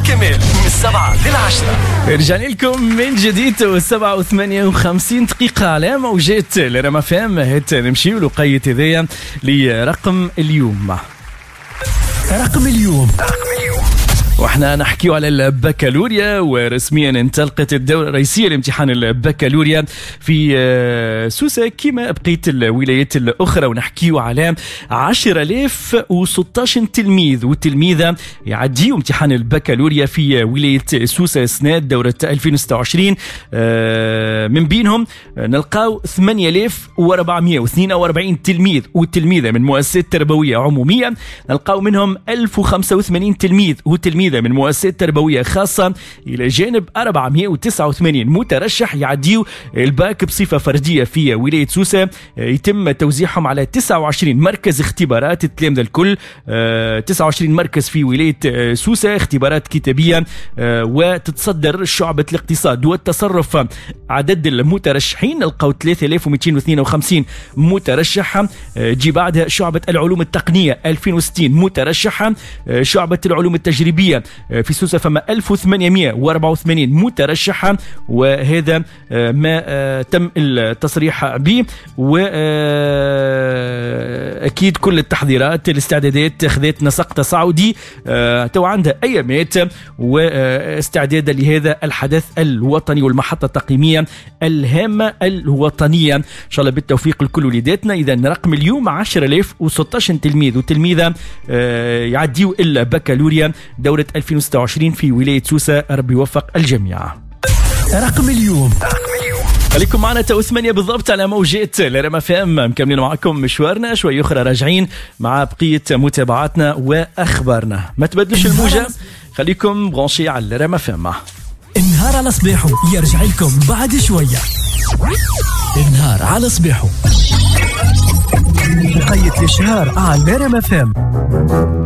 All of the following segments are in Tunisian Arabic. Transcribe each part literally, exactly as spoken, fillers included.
كمال من السبعة للعشرة. رجعنا لكم من جديد والسبعة وثمانية وخمسين دقيقة على موجات الرما فام. هات نمشيو لقية هذايا لرقم اليوم. رقم اليوم رقم اليوم واحنا نحكيو على البكالوريا، ورسميا انطلقت الدورة الرئيسية لامتحان البكالوريا في سوسة كما بقية الولايات الأخرى، ونحكيو على عشرة آلاف وستة عشر تلميذ وتلميذة يعديوا امتحان البكالوريا في ولاية سوسة سنة دورة ألفين وستة وعشرين. من بينهم نلقاو ثمانية آلاف وأربعمائة واثنين وأربعين تلميذ وتلميذة من مؤسسات تربوية عمومية، نلقاو منهم ألف وخمسة وثمانين تلميذ وتلميذة من مؤسسات تربوية خاصة، إلى جانب أربعمائة وتسعة وثمانين مترشح يعديوا الباك بصفة فردية في ولاية سوسة. يتم توزيعهم على تسعة وعشرين مركز اختبارات التلامذة الكل، تسعة وعشرين مركز في ولاية سوسة اختبارات كتابية، وتتصدر شعبة الاقتصاد والتصرف عدد المترشحين نلقاو ثلاثة آلاف ومئتين واثنين وخمسين مترشح، تجي بعدها شعبة العلوم التقنية ألفين وستين مترشحة، شعبة العلوم التجريبية في سوسة فما ألف وثمانمائة وأربعة وثمانين مترشحة، وهذا ما تم التصريح به. وأكيد كل التحضيرات الاستعدادات خذت نسق تصاعدي تو عندها أيامات، واستعدادا لهذا الحدث الوطني والمحطة التقييمية الهامة الوطنية. إن شاء الله بالتوفيق لكل وليداتنا. إذا رقم اليوم عشرة آلاف وستة عشر تلميذ وتلميذة يعديوا البكالوريا دورة ألفين وستة وعشرين في ولاية سوسة. ربي يوفق الجميع. رقم اليوم رقم اليوم خليكم معنا تو ثمانية بالضبط على موجات الرما فام، مكملين معكم مشوارنا شوي أخرى، راجعين مع بقية متابعاتنا وأخبارنا. ما تبدلوش الموجة، خليكم branchés على الرما فام. النهار على صباحه يرجع لكم بعد شوية. النهار على صباحه بقية الشهر على الرما فام.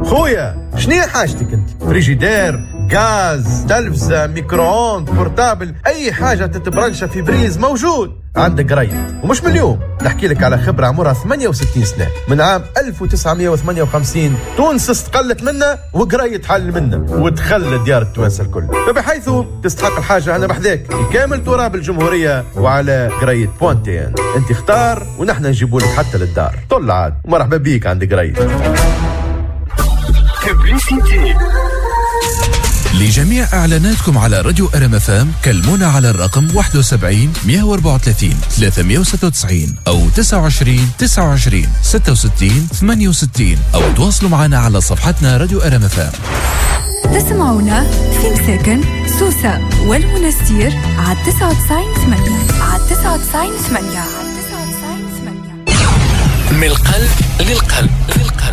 خويا شنو حاجتك انت؟ فريجيدير، غاز، تلفزة، micro-ondes، portable، اي حاجة تتبرنشة في prise موجود عندك قريت. ومش من اليوم نحكي لك على خبرة عمرها ثمانية وستين سنة، من عام ألف وتسعمائة وثمانية وخمسين تونس استقلت منا وقريت حل منا ودخل ديار التوانسة الكل، فبحيث تستحق الحاجة أنا بحذاك في كامل تراب الجمهورية وعلى قريت point tn. انت اختار ونحن نجيبوا لك حتى للدار. طل عاد ومرحبا بيك عند قريت. لجميع إعلاناتكم على راديو أرم أف أم كلمونا على الرقم واحد وسبعين مئة وأربعة وثلاثين ثلاثمائة وستة وتسعين أو تسعة وعشرين تسعة وعشرين ستة وستين ثمانية وستين أو تواصلوا معنا على صفحتنا راديو أرم أف أم. تسمعونا في مساكن سوسة والمنستير على تسعة وتسعين ثمانية، على تسعة وتسعين ثمانية. من القلب للقلب للقلب.